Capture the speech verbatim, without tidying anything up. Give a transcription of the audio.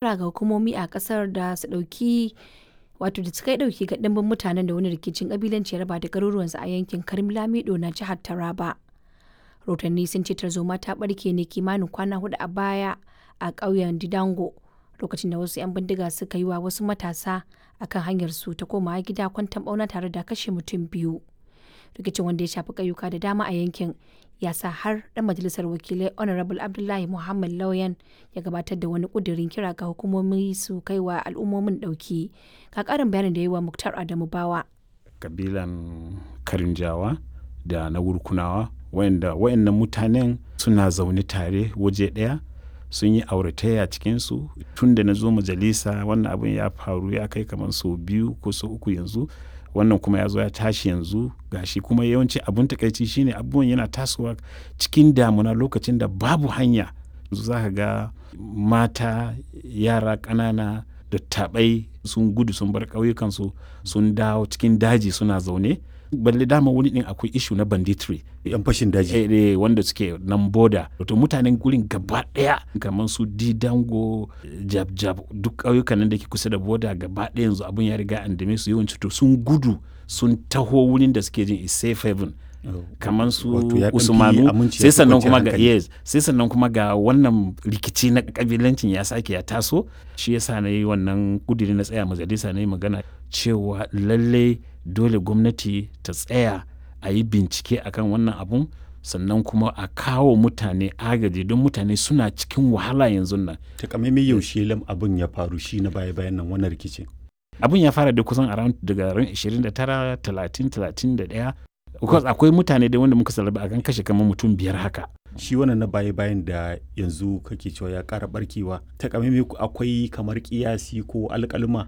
Kira ga hukumomi a ƙasar da su ɗauki wato da su kai ɗauki ga ɗimbin mutanen da wani rikicin ƙabilanci ya raba da garuruwansu a yankin Karim Lamido na jihar Taraba. Rahotanni sun ce tarzoma ta ɓarke ne kimanin kwana huɗu a baya a ƙauyen Didango lokacin da wasu 'yan bindiga suka yi wa wasu matasa a kan hanyarsu ta komawa gida kwanton ɓauna tare da kashe mutum biyu. Rikicin wanda ya shafi ƙauyuka da dama a yankin ya sa har ɗan majalisar wakilai Honorable Abdullahi Muhammad Lauyan ya gabatar da wani ƙudurin kira ga hukumomi su kai wa al'ummomin ɗauki. Ga ƙarin bayanin da ya yi wa Muktar Adamu Bawa. Kabilan Karinjawa da na Wurkunawa wayanda wayannan mutanen suna zaune tare waje ɗaya sun yi auratayya cikinsu tun da na zo majalisa wannan abin ya faru ya kai kamar sau biyu ko sau uku yanzu wannan kuma ya zo ya tashi yanzu gashi kuma yawanci abun takaici shine abubuwan yana tasowa cikin damuna lokacin da babu hanya za ka ga mata yara ƙanana dattabai sun gudu sun bar ƙauyukansu sun dawo cikin daji suna zaune balle dama wani din akwai ishu na banditry yan fashin daji eh, eh, wanda suke nan boda to mutanen gurin gaba daya kamar su didango jab jab duk ƙauyukan nan da ke kusa da boda gaba daya yanzu abun ya riga an dame su yawanci to sun gudu sun taho wurin da suke jin is safe haven kamar su usmanu sai sannan kuma ga yes sai sannan kuma ga wannan rikici na kabilancin ya sake ya taso shi yasa na yi wannan kudiri na tsaya majalisa na yi magana cewa lallai dole gwamnati ta tsaya a yi bincike akan wannan abun sannan kuma a kawo mutane agaji don mutane suna cikin wahala yanzu nan. Takamaimai yaushe lam abun ya faru shi na baya bayan nan wannan rikicin. Abun ya fara da kusan around daga ran ashirin da tara, talatin, talatin da ɗaya. Because akwai mutane da wanda muka salaba akan kashe kamar mutum biyar haka. Shi wannan na baya bayan da yanzu kake cewa ya ƙara barkewa takamaimai akwai kamar kiyasi ko alƙaluma